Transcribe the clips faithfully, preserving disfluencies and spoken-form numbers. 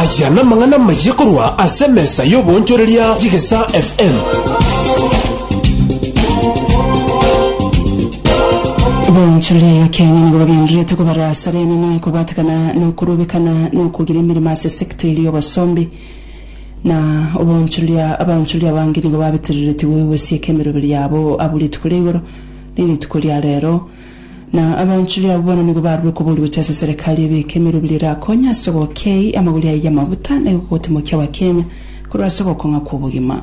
Aya namang'ana amaya korwa ase emesa y'oboonchoreria y'Egesaa F M. Bonchoreria ya Kenya nigo bagendererete kobara asara enene kobatekana nokorobekana nokogira emeremo ase sector eria y'obosombi na obonchoreria. Abaonchoreria abange nigo babetereretigwe gosieka emeroberi yabo abwo rituko ria igoro na rituko ria rero, na abaonchoreria abwo bono nigo barure kobori gocha ase serikali ebeke emeroberi erakonya ase ogokei amagori aye y'amabuta na egogotimokia abakenya korwa ase ogokong'a kwa obogima.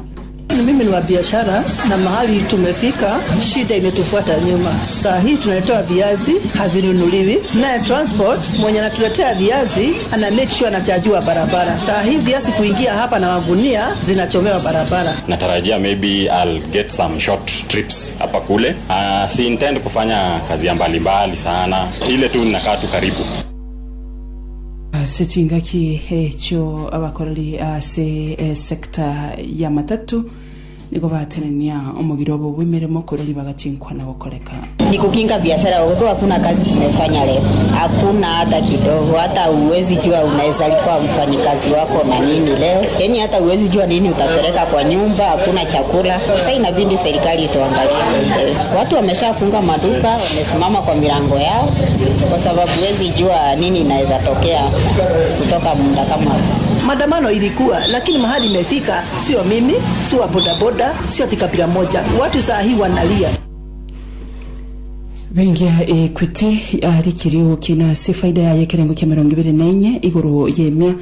Mimi ni wa biashara na mahali tumefika, shida imetufuata nyuma. Saa hii tunaletewa viazi hazinunuliwi, naye transport mwenye anatuletea viazi ana make sure anachajiwa barabara. Saa hii viazi kuingia hapa na magunia zinachomewa barabara. Natarajia maybe I'll get some short trips hapa kule. Uh, si intend kufanya kazi ya mbalimbali sana, ile tu ninakaa tu karibu. Ase chingaki ekyo abakoreri ase esector ya matatu nigo batenenia omogiro obo bw'emeremo korori bagachinkwana gokoreka. Ni kukinga biashara, kwa hakuna kazi tumefanya leo, hakuna hata kidogo. Hata uwezi jua unaweza lipa mfanyikazi wako na nini leo, yaani hata uwezi jua nini utapeleka kwa nyumba, hakuna chakula. Sasa inabidi serikali ituangalie. Watu wameshafunga maduka, wamesimama kwa milango yao, kwa sababu huwezi jua nini inaweza tokea kutoka muda kama huu. Maandamano ilikuwa, lakini mahali imefika, sio mimi, sio wa bodaboda, sio ati kabila moja. Watu saa hii wanalia. Bengi ya Equity yarikire gokina ase faida yaye ekerengo kia mirongo ibere na enye igoro yemia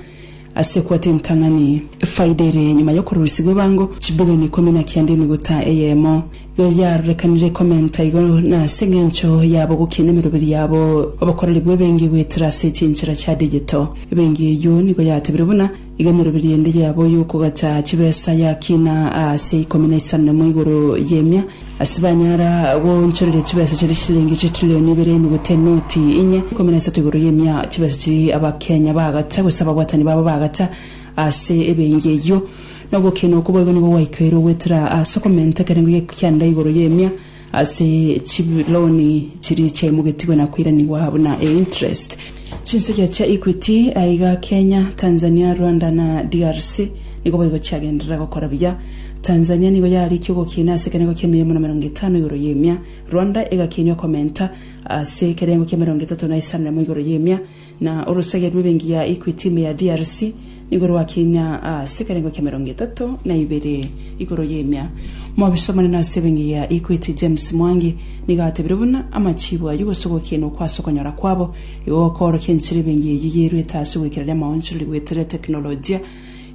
ase kwata entang'ani. Faida ere nyuma yokorusigwa ebango chibilioni ikomi na kianda emigota eyemo. Igo yarorekanire komenta igo na ase eng'encho yabo gokina emeroberi yabo obokoreri bwa ebengi gwetera ase chinchera chia digital. Ebengi eywo nigo yatebire buna igo emeroberi ende yabo yokogacha chibesa yakina ase ikomi na isano nemo igoro yemia ase banyara gonchoreria chibesa chiri shilingi chitrilioni ibere emigota enoti inye ikomi na isato igoro yemia, chibesa chiri abakenya bagacha gose ababwatani babo bagacha ase ebengi eywo. Nogokina okwo boigo nigo gwaikeirwe gwetera ase okomenta ekerengo gikianda igoro yemia ase chiloni chiri chiaimogetigwe na kwiranigwa buna e interest. Chinsegia chia Equity aiga Kenya, Tanzania, Rwanda na D R C nigo boigo chiagenderera gokora buya. Tanzania nigo yarikia ogokina ase ekerengo kia emia na mirongo etano igoro yemia, Rwanda egakinywa komenta ase ekerengo kia mirongo etato na isano nemo igoro yemia, na orusagia rw'ebengi ya Equity ime ya D R C nigo rwakinya ase ekerengo kia mirongo etato na ibere igoro yemia. Mobisomane na ase ebengi ya Equity James Mwangi nigo atebire buna amachibu ayu gose ogokina okwase okonyora kwabo igo gokorokia enchera ebengi eywo yerwete ase ogwekerera amaonchoreri gwetera teknolojia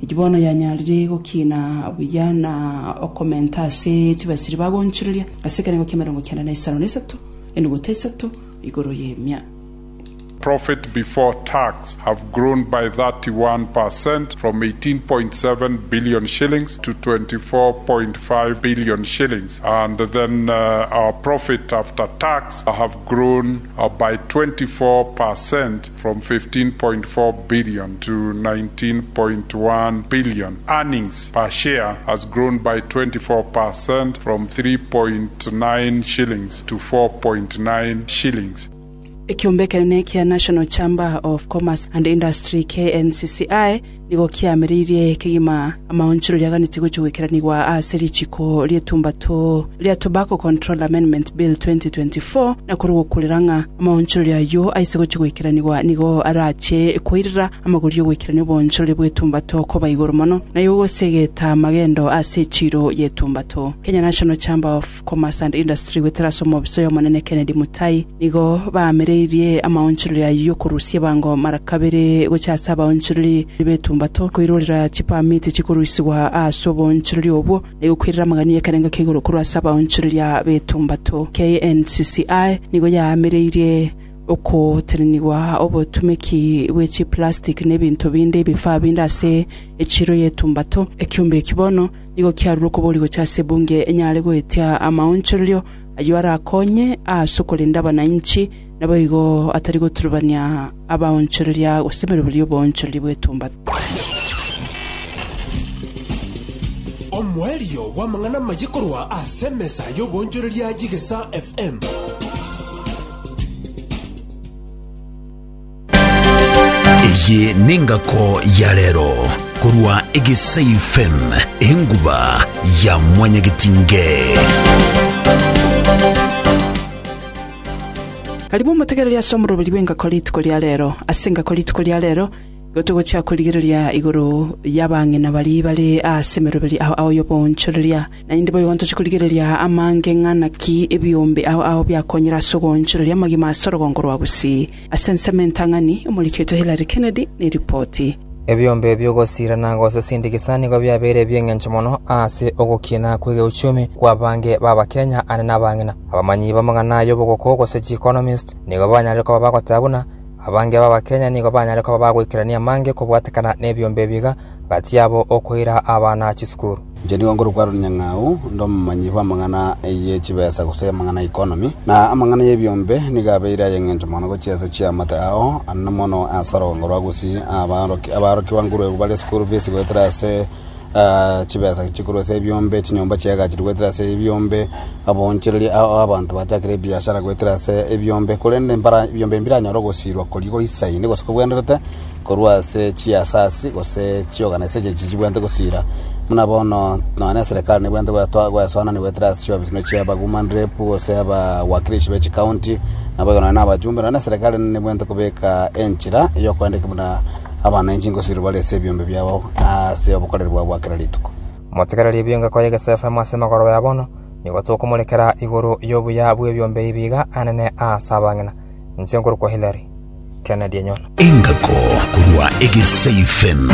eki bono yanyarire gokina buya na okomenta ase chibasiri bagonchoreria ase ekerengo kia mirongo kianda na isano na isato enuguta isato igoro yemia. Profit before tax have grown by thirty-one percent from eighteen point seven billion shillings to twenty-four point five billion shillings. And then uh, our profit after tax have grown uh, by twenty-four percent from fifteen point four billion to nineteen point one billion. Earnings per share has grown by twenty-four percent from three point nine shillings to four point nine shillings. Ekiombe ekenene kia National Chamber of Commerce and Industry, K N C C I, nigo kiamereirie kegima amaonchero riaganete gocha gwekeranigwa ase richiko rietumbato ria Tobacco Control Amendment Bill twenty twenty-four, na kuri gokurera ng'a amaonchero ayo aise gocha gwekeranigwa nigo arache koirera amagori ogwekerania obonchoreri bwetumbato koba igoro mono nayo gosegeta magendo ase echiro yetumbato. Kenya National Chamber of Commerce and Industry gwetera ase omobiso yomonene Kennedy Mutai nigo bamereirie amaonchoreri ayo yokorusia bango mara kabere gocha ase abaonchoreri betumbato koirorera chipamiti chikorusigwa ase obonchoreri obwo nigo kwirera amagani ekerengo kia igoro korwa ase abaonchoreria betumbato. K N C C I nigo yamereirie okotenenigwa obotumeki bwe chiplastic na ebinto binde ebifaa binde ase echiro yetumbato. Ekiombe eki bono nigo kiarure okobori gocha ase ebunge enyare goetia amaonchorerio ayo arakonye ase okorinda abananchi nabo igo atari goturubania abaonchoreria gose emeroberi y'oboonchoreria bwetumbato. Omoerio bw'amang'ana amaye korwa ase emesa y'oboonchoreria y'Egesaa F M. Eye nengako ya rero korwa Egesa F M enguba ya mwanyagetinge. Karibu mutegereria somoroberi bw'engako rituko ria rero ase engako rituko ria rero gotogocha kurigereria igoro yabang'ina bari bare ase meroberi aho aho yobonchoreria nainde boyonto chikurigereria amange ng'ana ki ebiombe aho aho byakonyera sogonchoreria magima asorogongo rwa Gusii ase nsementang'ani omuriketo Hillary Kennedy ni ripoti. Ebyombe byogosirana gose sindikisani go byabere byeng'encho mono ase ogokina kwege uchumi kwa bange baba Kenya ane nabang'ina abamanyi bamang'ana yobogoko gose economist nigo banyare ko bagotabuna abange baba Kenya nigo banyare ko bagoikerania mange kobwatekana n'ebyombe biga gati yabo okoira abana chisukuru. Njeni ngoro kwaro nyang'au ndo manyi bamang'ana eye chibesa gose mang'ana economy na amang'ana yebyombe nigabeira yeng'encho mono gochiesa chiamata ao anna mono asaro ngoro Gusii abaroki abaroki wanguru bale school fees goetera se Uh, chibesa chikuru se ebyombe chinyomba chiagachirwe goetera se ebyombe abonchereri abantu bachakire biashara goetera se ebyombe kurende mbara ebyombe mbiranyoro gosirwa korigo isaine gose kobwenderete korwa se chiasasi gose chiorganization chibwente gosira muna bono none serikali nibwente gwatwa gwasona ni goetera se chiobisino chiaba woman rep gose aba wakilishi be county nabo none abajumbe none serikali nibwente kubeka enchira iyo kwandika muna abananchi ngosiro balese ebyombe byabo ase obukorerwa bwakira rituko. Motegereri ebyonga kwa Egesa F M ase magoro ya bono nigo tokomorekera igoro yobuya bw'ebyombe ibiga anene ase abang'ina nche ngoro kwa Hillary Kennedy Enyono. Engako korwa Egesa F M.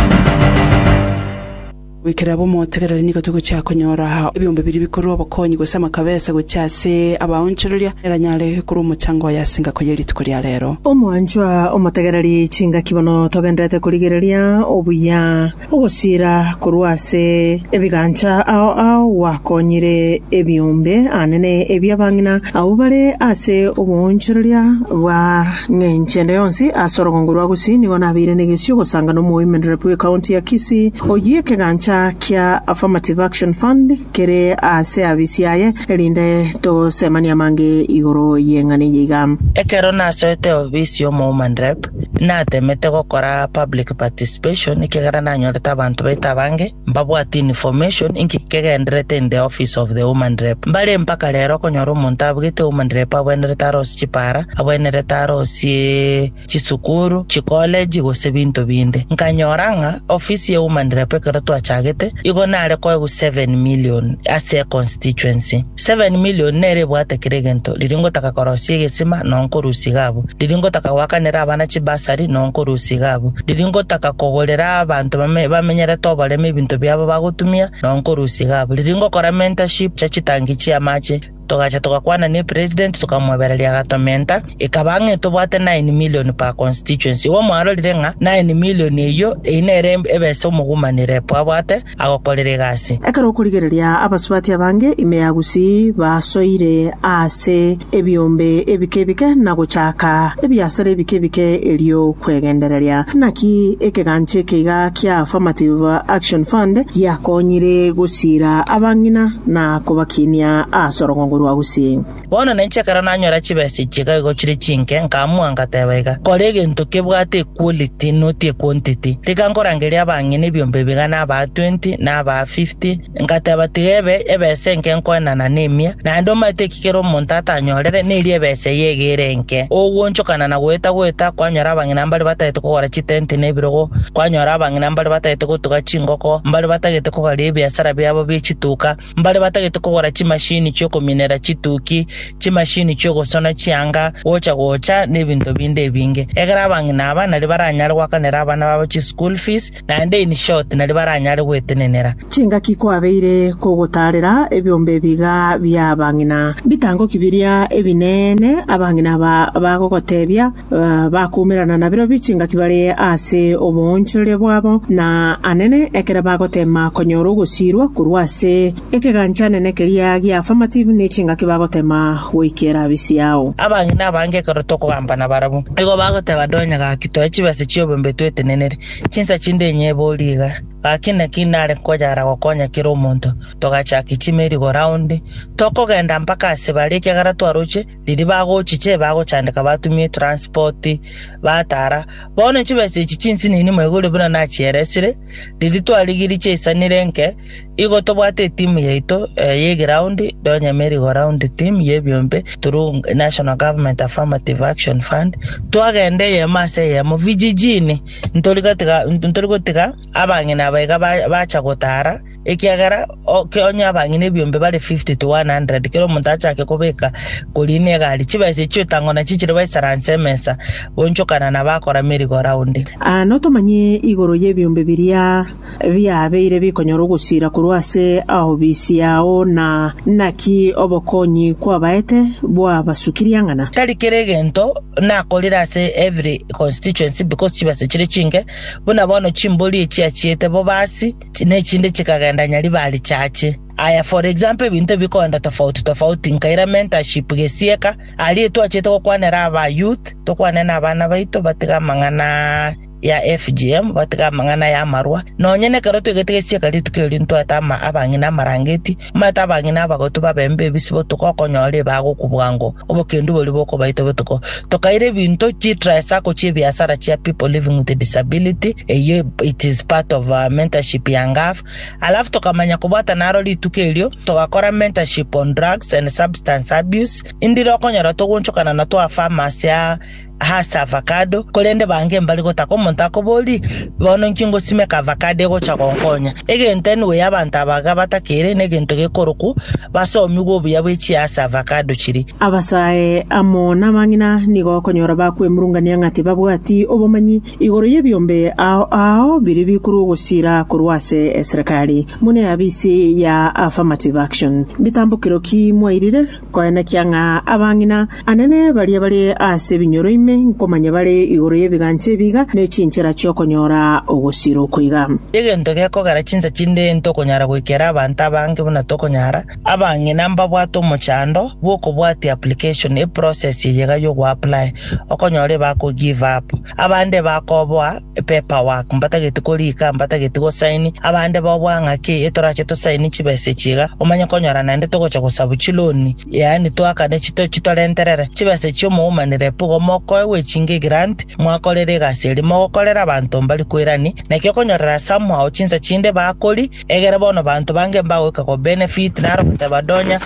Wikera bomotegereri nigo tugocha konyora ebyombe biri bikorwa obokonyi gose amakabesa gochase abaonchereria eranyare kuri omuchango yasinga ko yerituko rya rero. Omwanchwa omotegereri chinga kibono togenderete kurigereria obuya ogosira korwase ebigancha ao ao wakonyire ebyombe anene ebyabang'ina abo bare ase obonchereria bwa ng'enchende yonsi ase orogongo rwa Gusii nigo nabire negesio gosanga n'omoimenere bwe county ya Kisii oyie kegancha kia Affirmative Action Fund kere ase abisiaye erinde tosemania mange igoro yeng'ane yiga. Ekero nasoete obisi omo woman rep natemete gokora public participation ikegera nanyorete abantu baita bange mbabwati information inki kegenderete in the office of the woman rep mbare mpaka rero konyora omonto abugete woman rep abwenerete arosi chipara abwenerete arosie chisukuru chicollege gose binto binde nkanyora ng'a office ya woman rep ekero twacha igo nare koegu seven million ase constituency seven million nere bwate kiregento riringo takakorosie gesima nonkorusi gabo riringo takawakanera abana chibasari nonkorusi gabo riringo takakogorera abantu bamenyere tobareme ebinto byabo bagotumia nonkorusi gabo riringo kora mentorship cha chitangi chiamache togacha tokakwana ni president tukamwebereria gatomenta ikabange tobwate nine million per constituency wo mwarorire ng'a nine million eyo einere ebese omugumanire abwate agokorere gasi. Ekero okurigereria abasubati abange ime ya Gusii basoire ase ebyombe ebike ebike na gochaka ebiasara ebike ebike erio kwegendereria naki ekeganche keiga kia Affirmative Action Fund yakonyire gusira abang'ina na kobakinia ase orogongo rwa Gusii. Bono nenchekera nanyora chibesa chiga igo chire chinke nkamua ngateba iga kore egento kebwate quality not quantity rikankorangeria abang'ina ebyombe bigana aba twenty na aba fifty ngateba tigebe ebese nke nkoenana nemia naende omanyete ekikero omonto atanyorere neri ebese yegere nke ogwonchokana na gweta gweta kwanyora abang'ina mbari batagete kogora chitenti na ebirogo kwanyora abang'ina mbari batagete gotuga chingoko mbari batagete kogara ebiasara biabo bie chituka mbari batagete kogora chimashini chiokominera chituki chimashini chiogosona chianga gocha gocha n'ebinto binde ebinge egera abang'ina aba nari baranyare gwakanera abana babo chi school fees naende in short nari baranyare gwetenenera. Chingaki kwabeire kogotarera ebyombe biga bya abang'ina bitango kibiria ebinene abang'ina bagogotebia uh, bakumerana na biro bichingaki bare ase obonchereria bwabo na anene ekera bagotema konyora ogosirwa korwa ase ekeganchane keria gia affirmative nechingaki bagotema goikera bisiao. Abang'ina abange ekero tokogambana barabwo igo bagoteba donya gaki toe chibese chiobombe twetenenere chinsa chinde enye boriga Gaki naki nare konyara gokonya kera omonto togachaki chimeri go round tokogenda mpaka ase bare ekiagera twaroche riri bagochiche bagochandeka batumie transport batara bono chibesa echi chinsinini mwaigure buna nachieresire riri twarigiri chiaisanire nke igo tobwate etimu yaito eh, ye ground donya merry go round team yebiombe through National Government Affirmative Action Fund twagende yemo ase yemo vijijini ntorigotiga ntorigotiga abang'ina baiga bacha gotara ekiagera onye abang'ina ebiombe bare fifty to one hundred kero omonto achake kobeka korina egari chibesa echio tang'ona chichire baisaranse emesa bonchokana na bakora merry go round. Ah, notomanye igoro y'ebiombe biria biabeire bikonyora ogosira korwa ase ahobisi yao na naki obokonyi kwabaete bwabasukiria ng'ana tari kere egento nakorire ase every constituency because chibesa chire chinke buna bono chimbori echiachiete bobasi nechinde chikagenda nyaribari chache. Aya, for example ebinto bikoenda tofauti tofauti nkaira mentorship gesieka ari twachete gokwanera aba youth tokwane na abana baito batiga amang'ana ya F G M batiga amang'ana ya marwa nonye nekero twegete gesieka rituko eri ntwate ama abang'ina amarangeti omanyete abang'ina abagotu babembe ebisibo tokokonyora ebagokubwango obokendu bori bokobaito botuko tokaira ebinto chitrasako chiebiasara chia people living with a disability eyo it is part of uh, mentorship ya ngaf alafu tokamanya kobwata naro rituko erio togakora mentorship on drugs and substance abuse indire okonyora togonchokana na twa pharmacy ya hasa avocado korende bange mbali gotaka omonto akobori bono nki ngosimeka avocado egocha gonkonya egento anyway abanto abaga batakere na egento gekoroku basomigwe obuya bwa echiasa avocado chiri. Abasae amo n'abang'ina nigo okonyora bakwemurungania ng'ati babwati obomanyi igoro y'ebiombe ao ao biri bikuru ogosira korwa ase eserikali mune abisi ya Affirmative Action bitambukiro ki mwairire koenekia ng'a abang'ina anene baria bare ase ebinyoro ime nkomanya bare igoro y'ebigancha ebiga n'echinchera chiokonyora ogosira okoiga. Egento gekogera chinsa chinde ntokonyara goikera abanto abange buna tokonyara abang'ina mbabwate omochando bwokobwatia application eprocess yega yogo apply okonyore bako give up abande bakoboa paperwork mbatagete korika mbatagete gosaini abande babwa ng'aki etorache tosaini chibesa chiga omanye konyora naende togocha gosabu chiloni yaani twakane chito chitorenterere chibesa chiomoumanire pugo mokoewe chinge grant mwakorere egasi eri mogokorera abanto mbari kwirani nakio konyorera somehow chinsa chinde bakori egere bono banto bange mbagoika ko benefit naro goteba donya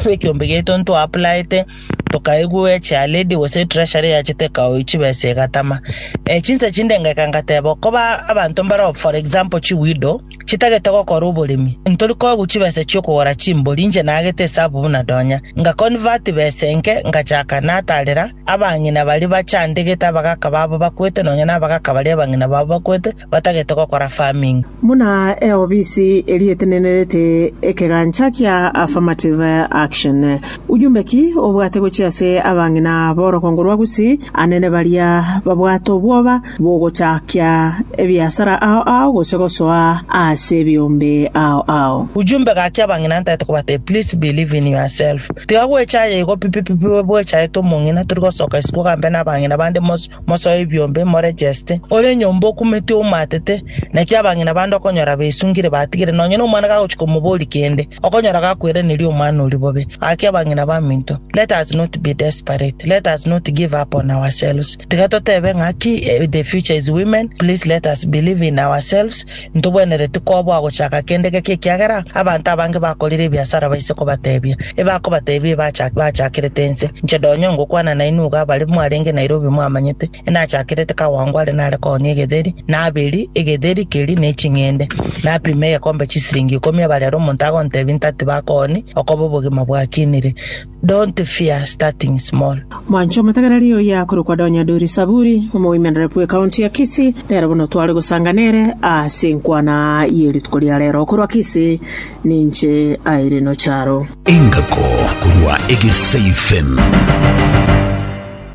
ekiombe gieto nto applyete tokaigwe echa lady gose treasury yachete kao chibesa egatama e chinsa chinde ngeka ngateba koba abanto mbaro for example chiwido chitagete gokora oboremi ntori koegu chibesa chiokogora chimbori inche nagete esabu buna donya nga convert besa enke ngachaka natarera abang'ina bari bachandegete abagaka babo bakwete nonya na abagaka bari abang'ina babo bakwete batagete gokora farming. Muna eobisi erietenenerete ekegancha kia Affirmative Action ujumbe ki obwate gochia ase abang'ina borokongo rwa Gusii anene baria babwate obwoba bogochakia ebiasara ao ao gose gosoa ase ebiombe ao ao. Ujumbe gaki abang'ina ntaete kobate please believe in yourself tiga gwechaye igo pipipipi bwechaye tomong'ina tori gosoka isiko gambe na abang'ina bande mosoe ebiombe moregeste ore nyomba okumete omatete naki abang'ina bande okonyora besungire batigire nonye na omwana gagochika omobori kende okonyora gakwereneria omwana ori bobe gaki abang'ina baminto let us not be desperate, let us not give up on ourselves tiga totebe ng'aki the future is women, please let us believe in ourselves ntobwenere tikobwa gochaka kende geke ekiagera abanto abange bakorire ebiasara baise kobatebia ebakobatebia bachakirete ense inche donyo ngokwana nainuga abari mwarenge Nairobi mwamanyete enachakirete kawangware nare konia egetheri naberi egetheri keri neching'ende napima egekombe chisiringi ikomi abarero omonto agontebia ntati bakoni okoba obogima bwakinire. Don't fear starting small. Mwancho matagarari oya korokwa Donya Dori Saburi omowomen rep we county ya Kisii nero bono tware gosanganere ase nkwana yerituko ria rero korwa Kisii ninche Irene Charo engako korwa Egesa F M.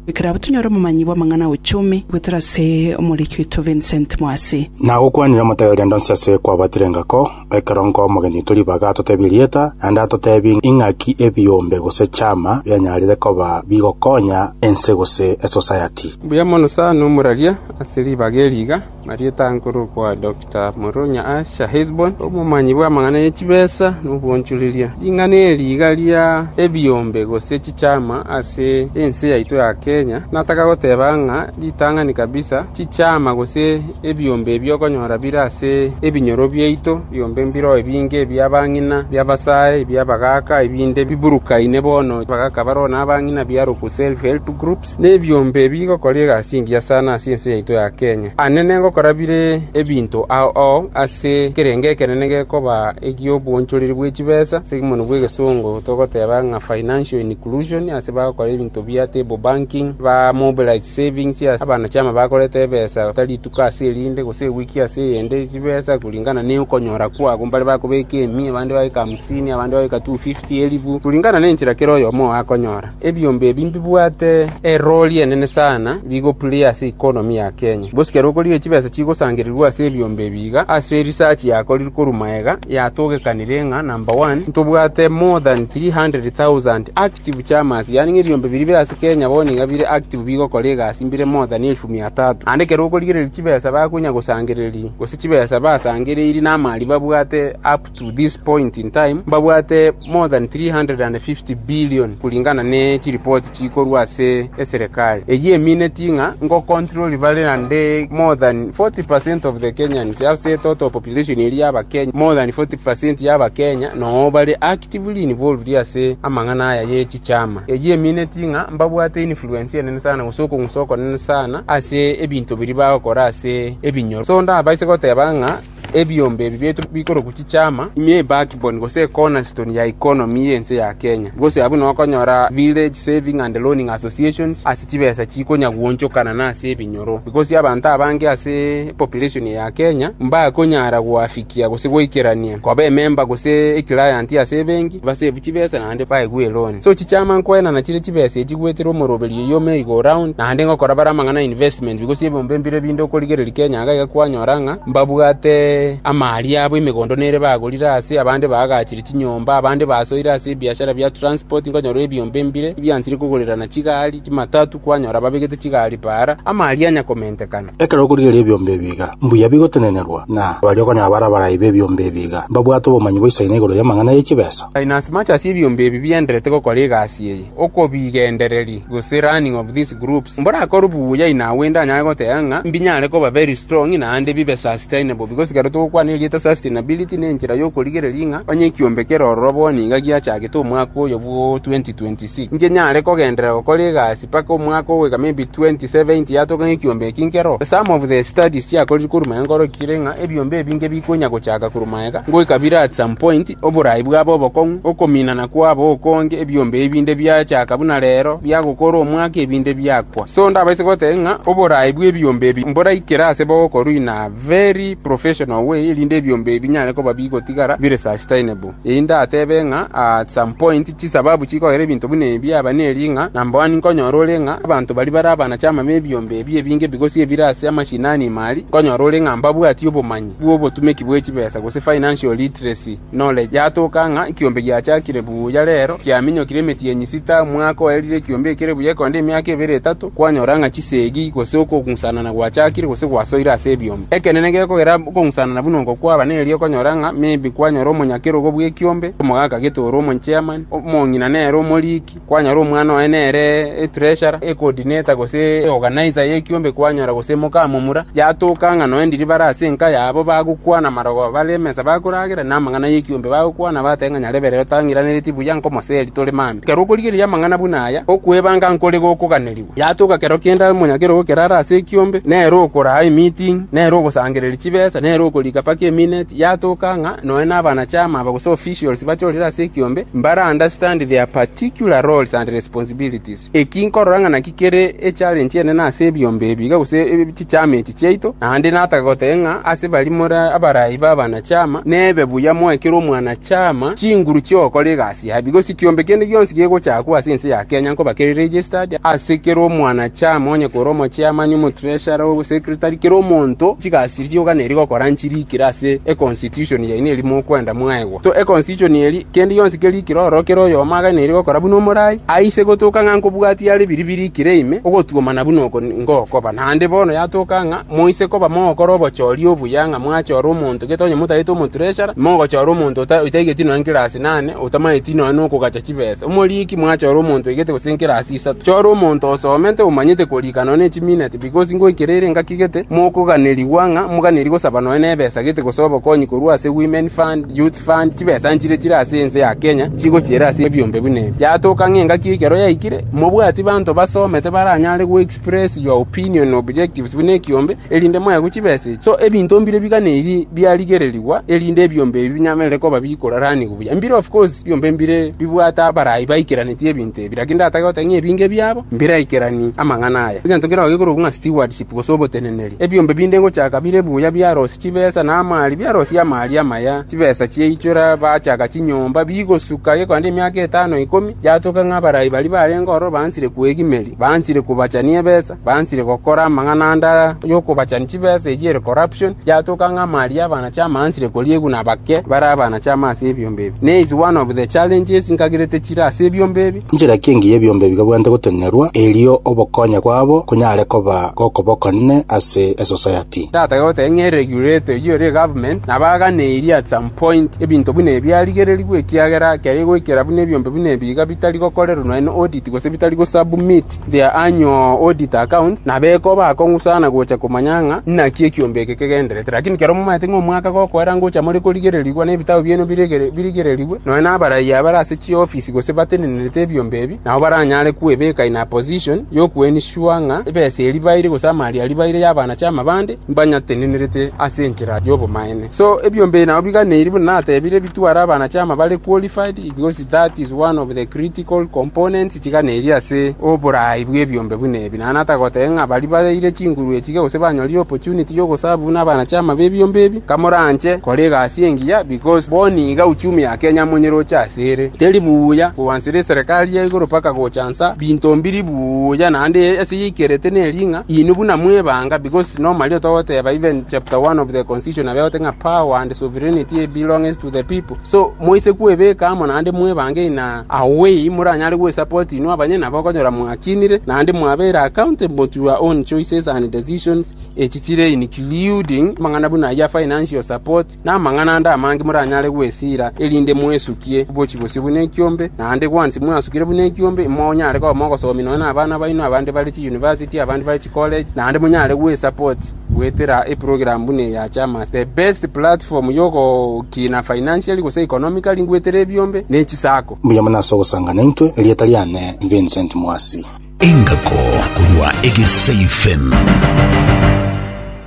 Bikira butunyora mumanyi bwa mang'ana uchumi gweterase omoriki witũ Vincent Mwasi na gukwanira mutageria ndonsese kwa batirengako ekerongo omogeni turi baga totebirieta anda totebi ing'aki ebiombe gose chama byanyarire koba bigokonya ense gose e society buya mono sana omuraria asiri bageriga Marieta Nkuru kwa Doctor Moronya Asha Hesbon omumanyi bw'amang'ana y'echibesa n'obwonchoreria ring'ana eriga ria ebiombe gose chichama ase ense yaito ya Kenya nataka goteba ng'a ritang'ani kabisa chichama gose ebiombe ebyokonyora bire ase ebinyoro byaito biombe mbiro ebinge ebyabang'ina byabasae ebyabagaka ebinde biburukaine bono bagaka barona abang'ina byaruku self help groups n'ebiombe bigokora egasi engiya sana ase ense yaito ya Kenya anene ngokora bire ebinto ao ao ase kerenge ekenene gekoba egiobwonchoreri bwa echibesa ase mono bwa egesongo togoteba ng'a financial inclusion ase bagokora ebinto bia table banking ba mobilize savings abana chama bakoreta ebesa tarituka ase erinde gose ewiki ase eyende chibesa kulingana ne okonyora kwago mbare bakobeka emi abande babeka hamsini abande babeka two fifty elifu kulingana nenchera kero oyomo akonyora ebiombe ebi mbibwate eroli enene sana bigoplay ase economy ya Kenya bosikero okorire chibesa chigosangererwa ase ebiombe ebiga ase research yakorire korumaega yatogekanire ng'a number one ntobwate more than three hundred thousand active chamas yani ebiombe biri bire ase Kenya bono iga bire active bigokora egasi mbire more than elfu mia tatu ande kero okorigereri chibesa bakonya gosangereri gose chibesa basangereiri n'amari babwate up to this point in time babwate more than three hundred fifty billion kulingana ne chiripoti chikorwa ase eserikali eyi emineti ng'a ngo control bale ande more than forty percent of the Kenyans ase total population eri y'abakenya more than forty percent y'abakenya no bale actively involved ase amang'ana aya y'echichama eyi emineti ng'a mbabwate influence enene sana gose okong'usa nene sana ase ebinto biri bagokora ase ebinyoro so ndabaise goteba ng'a ebiombe ebi bietu bikoroku chichama ime backbone gose cornerstone ya economy yense ya Kenya gose abu nokonyora village saving and loaning associations ase chibesa chikonya guonchokana na ase ebinyoro because abantu abange ase population ya Kenya mbakonyara gwafikia gose goikerania koba ememba gose eclient ase ebenki basebu chibesa naende baegwe loan so chichama nkoenana chire chibesa echigwetera omoroberi yo merry go round naende ngokora bara amang'ana investment because ebiombe mbire binde okorigereri Kenya iga kwanyora ng'a mbabwate amari abo emigondo nere bagorire ase abande bagachire chinyomba abande basoire ase ebiashara bya transport nkonyora ebiombe mbire byansire kogorerana chigari chimatatu kwanyora babegete chigari para amari anya komentekana ekero okorigereria ebiombe ebiga mbuya bigotenenerwa na bari okonyora barabara ibe ebiombe ebiga mbabwate obomanyi bwa igoro y'amang'ana y'echibesa in as much as ebiombe ebi bienderete gokora egasi eye okobigendereri gose running of these groups mborakora buya inawenda anyare goteba ng'a mbinyare koba very strong naende bibe sustainable because kero togokwana erieta sustainability nenchera yokorigereria ng'a onye ekiombe kerororo bono iga giachagete omwaka oyo bwo twenty twenty-six inche nyare kogenderera gokora egasi paka omwaka ogoika maybe twenty seventy yatoka ng'ekiombe eki nkero some of the studies chiakorire korumaya nkorokire ng'a ebiombe ebinge bikonya gochaka korumaega ngoika bire at some point oborai bwabo obokong'u okominana kwabo okonge ebiombe ebinde biachaka buna rero biagokora omwaka ebinde biakwa so ndabaise goteba ng'a oborai bwa ebiombe ebi mboraikera ase bogokorwa in a very professional way erinde ebiombe ebi nyare koba bigotigara bire sustainable eyi ndatebe ng'a at some point chisababu chikogera ebinto buna ebi aba neri ng'a number one nkonyora ore ng'a abanto bari bare abana chama ba ebiombe ebi ebinge because ebire ase amashinani mari nkonyora ore ng'a mbabwati obomanyi bwa obotumeki bwa echibesa gose financial literacy knowledge yatoka ng'a ekiombe giachakire buya rero kiaminyokire emeti enyisita omwaka oerire ekiombe ekere buya ekonde emiaka ebere etato kwanyora ng'a chisegi gose okong'usanana gwachakire gose gwasoire ase ebiombe ekenene gekogera okong'usanana buno kwaba neri okonyora ng'a maybe kwanyora omonyakerogo bwa ekiombe omogaka getoro omochairman omong'ina nere omoriki kwanyora omwana oye nere etreasurer ecoordinator gose organizer y'ekiombe kwanyora gose mokamomura yatoka ng'a noe ndiri bare ase enka yabo bagokwana marogo bare emesa bakoragera na amang'ana y'ekiombe bagokwana bateba ng'a nyareberero tang'iranereti buya nkomoseri tore mambi kero okorigereria amang'ana buna aya okwebanga nkore gokoganerigwa yatoka kero kenda omonyakerogo kerara ase ekiombe nere okoraa emeeting nere ogosangereria chibesa nere okorika paka eminute yatoka ng'a noe n'abana chama aba gose officials bachorire ase ekiombe mbara understand their particular roles and responsibilities eki nkorora ng'a naki kere echallenge enene ase ebiombe ebi iga gose chichama echi chiaito naende nataka goteba ng'a ase bari more abarai ba abana chama nebe buya moekere omwana chama chinguru chiogokora egasi yaye because ekiombe kende gionsi gegochakwa ase ense ya Kenya nkoba kere registered ase kere omwana chama onye kore omochairman omotreasurer osecretary kere omonto chigasi chioganeri gokora nchire chirikire ase econstitution yaine eri mokwenda mwaegwa. So econstitution eri kendi yonsi kerikire oro kero oyomaga neri gokora buno omorai aise gotoka ng'a nkobwati are biri birikire ime ogotuomana buno oko ngokoba naende bono yatoka ng'a moise koba mogokora obochori obuya ng'a mwachora omonto getonye motaete omotreasurer mogochora omonto otaigeti noe nkirasi nane otamaeti noe nokogacha chibesa omoriki mwachora omonto oigete gose nkirasi isato chora omonto osomete omanyete korika noe ne chiminute because ngoikerere ngakigete mokoganerigwa ng'a moganeri gosaba noe na ebesa gete gose obokonyi korwa ase women fund, youth fund, chibesa nchire chire ase ense ya Kenya chigochiera ase ebiombe bune yatoka ng'enga kikero yaikire mobwati banto basomete baranyare go express your opinion objectives bune kiombe erinde moya guchibese. So ebinto mbire biganeri byarigererigwa erinde ebiombe ebi binyamere koba bikorarani buya mbire of course biombe mbire bibwata abarai baikeraneti ebinto ebi lakini ndatagote ng'e ebinge byabo mbiraikerani amang'ana aya egento kero gikoro ng'a stewardship gose oboteneneri ebiombe binde ngochaka bire buya byarosi chibesa na amali byarosi amali amaya chibesa chieichora bachaka chinyomba bigosuka gekonde emiaka etano ikomi yatoka ng'abarai bari barenga oro bansire kwegimeri bansire kubachania ebesa bansire gokora amang'ana anda yokobachani chibesa ejiere corruption yatoka ng'amali abana chamansire koriegu na bake bara abana chamase ebiombe ebi ne is one of the challenges nkagirete chira ase ebiombe ebi Njira kingi ebiombe bigabwante gotenerwa erio obokonya kwabo kunyare koba gokobokonne ase esociety ndatagote ng'e regulate yore government nabaganeirie at some point ebinto bune byarigererigwe ekiagera kere goikera bune ebiombe bune biga bitari gokorerwa noe audit gose bitari gosubmit their annual audit account nabeko bakong'usana gocha komanya ng'a naki ekiombe eke kegenderete lakini kero momaete ng'a omwaka gokoera ngocha more korigererigwa na ebitabo bieno birigererigwe noe nabarai abare ase chiofisi gose batenenerete ebiombe ebi nabo baranyare kwebeka in a position yokuensure ng'a ebesa eri baire gose amali ari baire y'abana chamabande mbanyatenenerete ase enchera y'obomaene. So ebiombe nabo biganeiri buna natebire bitwara abana chama bare qualified because that is one of the critical components chiganeiri ase oborai bw'ebiombe bune ebi na natagote ng'a bari baire chinguru echige gose banyorire opportunity yogosabu n'abana chama b'ebiombe ebi kamoranche kora egasi engiya because boniga uchumi ya Kenya monyere ochasere teri buya kuwansire serikali ya igoro paka gochansa binto mbiri buya naende ase yikerete neringa inu buna mwebanga because normally otogoteba even chapter one of the constitution abeote ng'a power and sovereignty belongs to the people so moise kwebeka amo naende mwebange ina away muranyare gwesupport inu abanye nabo okonyora mwakinire naende mwabere accountable to your own choices and decisions echichire including mang'ana buna ya financial support na mang'ana ande amange muranyare gwesira erinde mwesukie bochi bosi bune ekiombe naende gwansi mwasukire bune ekiombe monyare koba mogosomi noe na abana baino abande bari chi university abande bari chi college naende munyare gwesupport gwetera eprogram bune ya chama the best platform yogokina financially gose economically ngwetera ebiombe nechisako mbuya muna ase ogosangana intwe erieta riane Vincent Mwasi Engako kurwa Egesa F M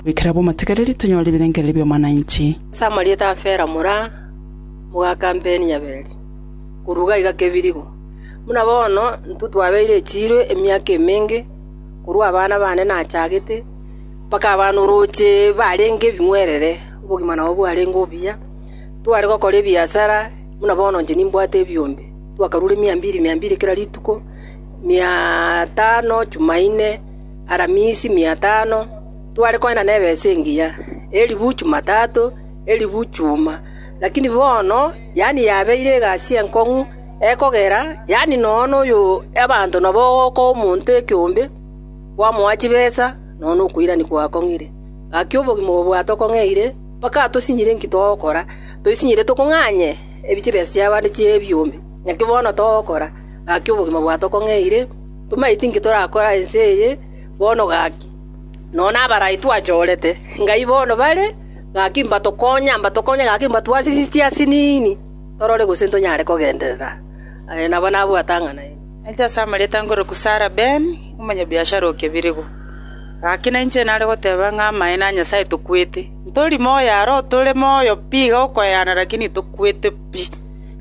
wikira bo mategereri tunyore ibirengereri bya mwananchi Samarieta fera mura muga kampeni nyaberi kuruga iga kebirigo muna bono ntutwabeire echiro emiaka emenge kurwa abana bane nachagete paka abana oroche barenge bimwerere obogima nabo bwarenge obuya tware gokora ebiasara muna bono nje nimbwate ebiombe twakarure mia mbili mia mbili kila rituko mia tano Jumaine Aramisi mia tano tware koenda nebesa engiya elibu Jumatatu elibu Juma lakini bono yani yabeire egasi enkong'u ekogera yani nono oyo abanto nabo ko omonto ekiombe kwamoa chibesa nono okoirani gwakong'ire gaki obogima obo bwatokong'eire mpaka tosinyire nki togokora toisinyire tokong'anye ebi chibesa chiabande chia ebiombe naki bono togokora gaki obogima bwatokong'eire tomaeti nki torakora ense eye bono gaki nono abarai twachorete ngai bono bare gaki mbatokonya mbatokonya gaki mbatwasisitia asinini torore gose ntonyare kogenderera nabo nabwatang'ana Enche Samarieta ngoro kusara Ben umanya biashara okebirigo gaki na inche nare goteba ng'a amae na Nyasaye tokwete ntori moyo aro tore moyo pi gokoyana lakini tokwete pi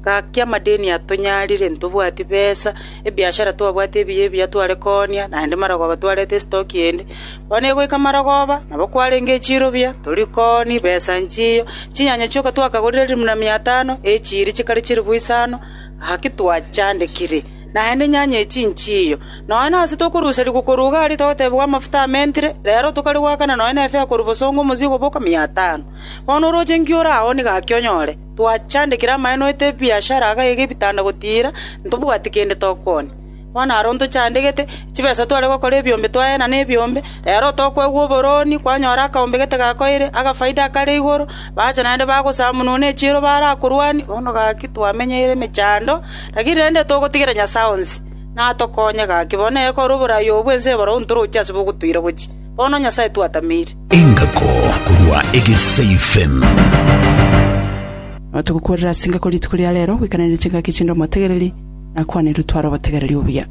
gaki amadeni atonyarire ntobwati besa ebiashara twabwate ebiya ebiya tware konia naende marogoba twarete estoki ende bono egoika marogoba nabo kwarenge echiro buya tori koni besa nchiyo chinyanya chioka twakagorire elimu na mia tano echiri chikare chiribu isano gaki twachandekire Naende nyanya echi nchiyo. Nonya ase tokoruseria gokoruga aria togotebigwa amafuta amentire, rero tokari goakana nonya na efare korwa bosongo omozigo boka mia tano. Bono oroche nki oraoni gaki onyore, twachandekire amaene oete ebiashara iga iga ebitanda gotira, ntobwati kende tokoonia. Bono aro ntochandegete, chibesa tware gokora ebiombe twaena na ebiombe, rero tokoegwa oboroni, kwanyora akaombe gete gakoire, agafaida akare igoro, bacha naende bagosamunwa na echiro barakorwani, bono gaki twamenyeire emechando, lakini rende togotigera Nyasaye onsi, natokonye gaki, bono ekore oborai obwo ense eboro ntoroche ase bogotuira gochia. Bono Nyasaye twatameire. Engako korwa Egesa F M. Tugukurira singa kuri rituko ria rero wikananire chingaki chindo omotegereri nakwanire twara obotegereri obuya.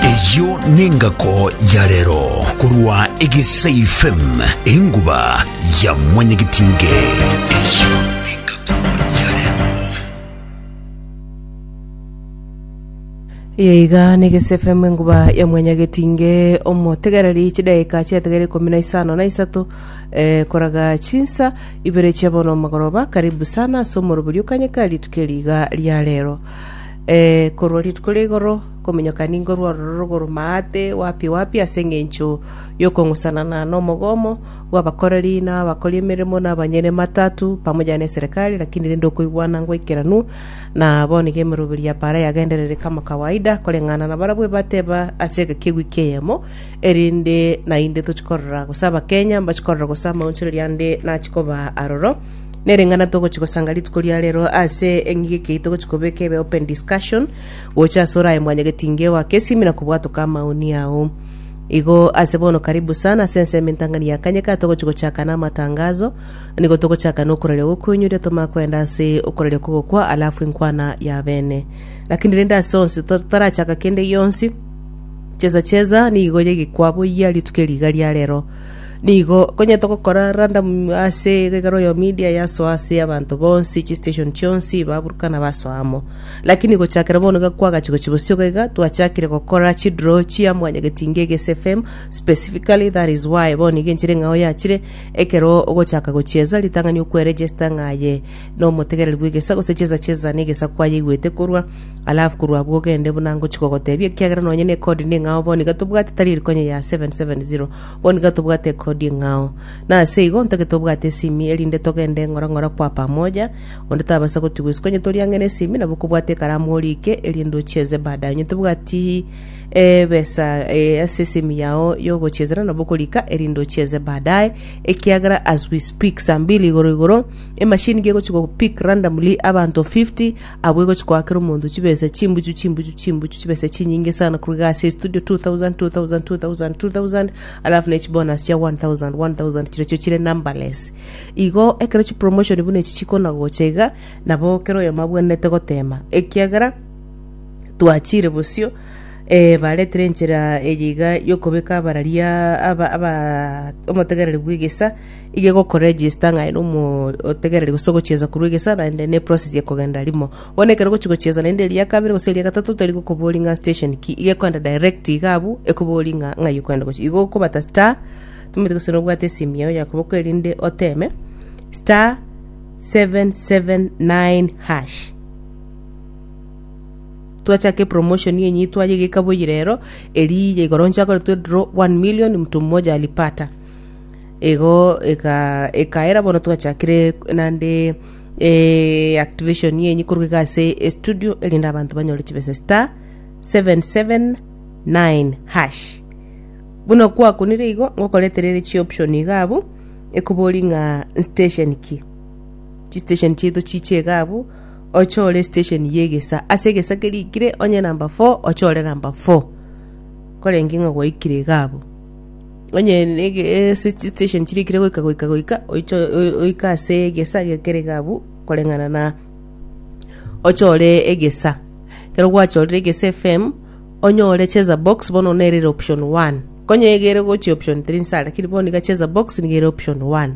Eyo nengako ya rero korwa Egesa F M, enguba ya mwanyagetinge. Eyo nengako ya rero. Yeiga nigese F M, enguba ya mwanyagetinge. Omotegereri, chidaika chiategere ikumi na isano na isato eh, koraga chinsa ibere chiabono magoroba. Karibu sana ase omorobori okanyeka rituko eriga ria rero eh, korwa rituko ria igoro kominyoka ningo rwaroro rogoro maate wapi wapi ase eng'encho yokong'usanana na omogomo bw'abakoreri na abakori emeremo na abanyene matatu pamoja na eserikali, lakini rende okoigwana ngwaikeranu na bono iga emeroberi ya para yagenderere kama kawaida koreng'ana na barabwo bateba ase egeki ewiki eyemo erinde nainde tochikorora gose abakenya mbachikorora gose amaonchoreri ande nachikoba aroro nereng'ana togochigosanga rituko ria rero ase eng'ige kei togochikobeka ebe open discussion gocha ase oraye mwanyagetinge wake esimi na kobwatoka amaoni yao igo ase bono. Karibu sana ase ensemo entang'ani ya kanyeka togochigochaka na amatangazo, nigo togochaka na okoraria gokoinyuria tomakwenda ase okoraria kogokwa alafu enkwana ya bene, lakini rende ase onsi totarachaka kende gionsi, cheza cheza nigo yegekwabo ya rituko eriga ria rero nigo konye togokora random ase egekero ya media yasoa ase abanto bonsi chistation chionsi baburukana basoamo, lakini gochakera bono iga kwagachi bosio iga twachakire gokora chidraw chia mwanyagetinga Egesa F M specifically. That is why bono iga enchera eng'ao yachire ekero ogochaka gochieza ritang'ani okweregister ng'aye na omotegereri bwa egesa gose cheza cheza na egesa kwayeigwete korwa alafu korwa abwo ogende buna ngochi kogotebia ekiagera nonye na ekodi na eng'ao bono iga tobwate tari erikonye ya seven seven zero, bono iga tobwate ekodi eng'ao na ase igo ntagete obwate esimi erinde togende ng'ora ng'ora kwa pamoja onde tabasa gotigwa isiko onye tori ang'e na esimi nabo okobwata ekaramu orike erinde ochieze baadaye onye tobwati ebesa eh, ase esimi yao yogochiezera nabo okorika erinde ochieze baadaye ekiagera as we speak saa mbili igoro igoro emashini gegochi gopick randomly abanto fifty abwo egochi koakera omonto chibesa chimbuchu chimbuchu chimbuchu chibesa chinyinge sana kuruga ase studio two thousand two thousand two thousand two thousand alafu na echibonus chia one thousand one thousand chirochio chire numberless. Igo ekero chipromotion buna echi chikona gocha iga nabo kero oyomo abwenerete gotema ekiagera twachire bosio eh, baretire enchera eye iga yokobeka abararia aba aba omotegereri bwa egesa iga egokoregister ng'aye na omo otegereri gose ogochieza korwa egesa naende na eprocess ekogenda rimo. Bono ekero ogochi gochieza naende eria kabere gose eria gatato tari gokobori ng'a station ki, iga ekoenda direct iga abwo ekobori ng'a ng'ai okoenda gochia igo okobata star timanyeti gose nobwate esimi yago ya koboko erinde oteme star seven seven nine hash. Twachaka epromotion yenye twayegeka boyi rero eri ya igoro nchakoretwe draw one million mtu mmoja alipata igo eka ekaera. Bono twachakire nande eh, activation yenye koruga iga ase estudio erinde abanto banyore chibesa star seven seven nine hash. Buna kwakunire igo ngokoreterere chioption iga abwo ekobori ng'a station ki chistation chiaito chiche iga abwo ochore station ya egesa ase egesa kerikire onye number four ochore number four korenge ng'a gwaikire iga abwo onye nege ase station chirikire goika goika goika oicho oike ase egesa gekere iga abwo koreng'ana na ochore egesa. Ekero gwachorire Egesa F M onyore cheza box bono nerere option one konye egere gochia option three nsa, lakini bono iga cheza box niga ere option one.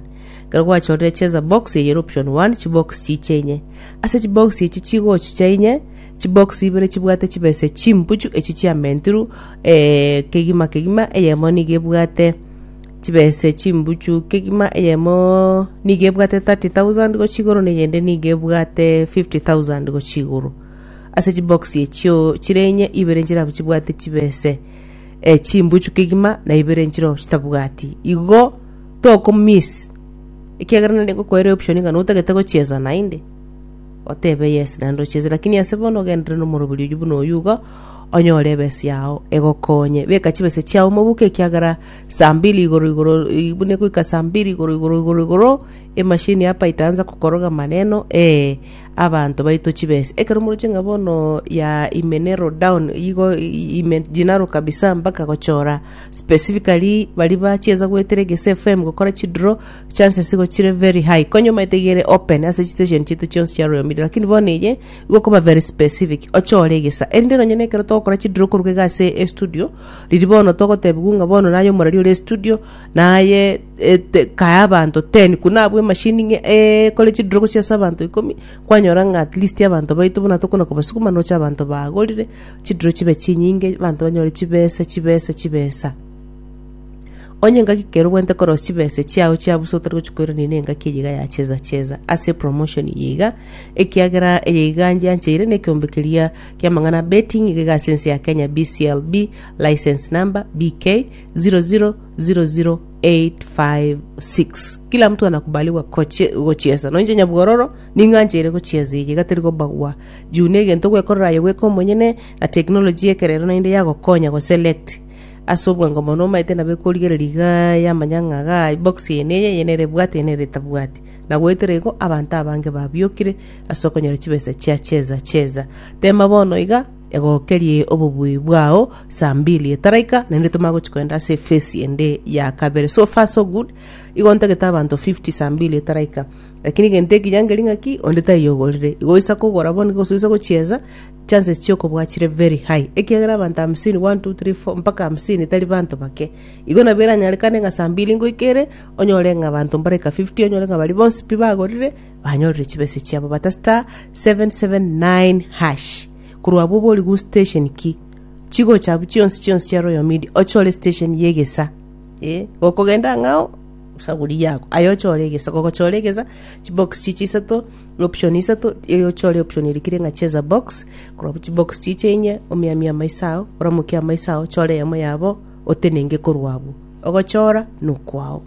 Ekero gwachorire cheza box eye ere option one, chibox chiche inye ase chibox echi chigochicha inye chibox ibere chibwate chibesa chimbuchu echi chiamentiru eh, kegima kegima. Eyemo niga ebwate chibesa chimbuchu kegima, eyemo niga ebwate thirty thousand gochia igoro na eyende niga ebwate fifty thousand gochia igoro. Ase chibox echio chire inye, ibere nchire chibwate chibese eh, chimbuchu kegima na ibere nchiro chitabwati. Igo tokomiss ekiagera naende ngokoera option ng'a notagete gochiesa naende otebe yes naende ochiese, lakini ase bono ogenderere na omorobori oywo buna oywo igo onyore ebesa yao egokonye. Beka chibesa chiao mobuko ekiagera saa mbili igoro igoro i- buna egoika saa mbili igoro igoro igoro igoro emashini hapa itaanza kukoroga maneno eh, abanto baito chibesa. Ekero moroche ng'a bono ya ime narrow down igo i- imejinarrow kabisa mpaka gochora specifically baria bachiesa goetera Egesa F M gokora chidraw, chances igo chire very high. Konya omanyete iga ere open ase chistation chiaito chionsi chia Royal Media, lakini bono eye igo okoba very specific ochore Egesa erinde nonye na ekero togokora chidraw koruga iga ase estudio riria bono togotebiwa ng'a bono naye omorari ore estudio naye ete kae abanto ten kuna abwo emashini ng'e ekore chidraw gochia ase abanto ikomi kwanyora ng'a at least abanto baito buna tokona kobasukuma noche abanto bagorire chidraw chibe chinyinge abanto banyore chibesa chibesa chibesa. Onye engaki kero obwenerete korosia chibesa chiao chiabusa otari gochia koirania na engaki eye iga ya cheza cheza ase epromotion eye iga ekiagera eye iga ngiancheire na ekeombe keria kia amang'ana betting iga iga ase ense ya Kenya B C L B license number B K zero zero zero zero eight five six. Kila mtu anakubaliwa koche gochiesa nonye nyabwororo ning'ancheire gochiesa eye iga teri kobagua juu na egento ogwekorera aye bweka omonyene na technology ekerero naende yagokonya goselect ase obwango mono omanyete nabo ekorigereria igaa yamanya ng'a igaa box eye neye eye nere ebwate eye nere etabwati. Na goetera igo abanto abange babiokire ase okonyora chibesa chia cheza cheza. Tema bono iga egokerie obobui bwao saa mbili etaraika naende tomanye gochi kogenda ase ephase ende ya kabere. So far so good igo ntagete abanto fifty saa mbili etaraika lakini egento ekiya nkeri ng'aki onde taiyo ogorire igo oisa kogora bono gose oisa gochiesa chances chiokobua chire very high ekiagera abanto hamsini one two three four mpaka hamsini tari banto bake. Igo nabo eranyarekane ng'a saa mbili ngoika ere onyore ng'a abanto mbaraika fifty onyore ng'a baria bonsi pi bagorire banyorire chibesa chiabo bata star seven seven nine hash korwa abwo oboriwu station ki chigocha abwo chionsi chionsi chia Royal Media ochore station ya Egesa eh, gokogenda ang'ao saguri yako aye ochore Egesa gogochora Egesa chibox chiche isato option isato eri ochore option erikire ng'a cheza box korwa abwo chibox chiche inye omiamie amaiso ao oramokie amaiso ao ochore eyemo yabo otenenge korwa abwo ogochora nokwao.